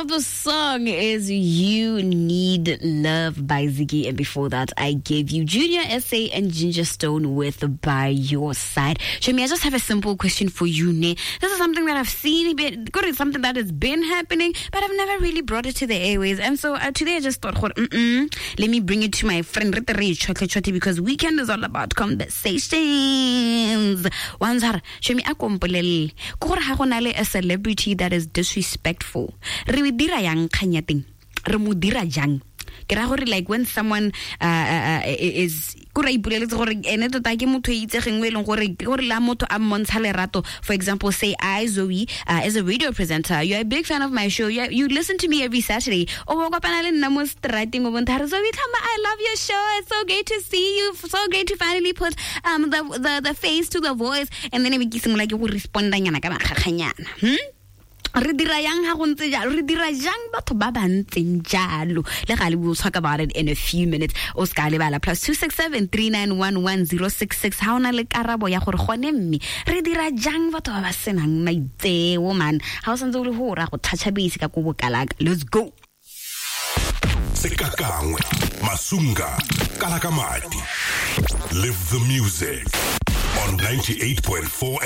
of the song is You Need Love by Ziggy. And before that, I gave you Junior SA and Ginger Stone with By Your Side. Shemi, I just have a simple question for you, Ne. This is something that I've seen, a bit, it's something that has been happening, but I've never really brought it to the airways. And so today I just thought, let me bring it to my friend because weekend is all about conversations. Wanzar, Shemi, a kompolele. Ke gore ga go na le a celebrity that is disrespectful, re dira yang kgang ya teng? Re mo dira jang? Ke ra gore, like, when someone is kore a ipoleletse gore ene tota ke motho e itsegeng o e leng gore ke gore la motho a mmontsha lerato. For example, say I, Zoe, as a radio presenter, you're a big fan of my show, you listen to me every Saturday, o bo kopana le nna mo strateng, o bontsha re, "Zoe Tlhama, I love your show. It's so great to see you, so great to finally put the face to the voice," and then e be ke simolola ke go respondanyana ka makgakganyana. Re dira yang ga go ntse jalo? Re dira jang batho ba ba ntseng jalo? Le gale, we'll talk about it in a few minutes. O se ka lebala, +267 3911066, ga o na le karabo ya gore gone mme re dira jang batho ba ba senang maitseo, man. Ga o santse o le go ra go toucha base ka ko bokalaka. Let's go. Sekakangwe Masunga Kalakamati. Live the music on 98.4.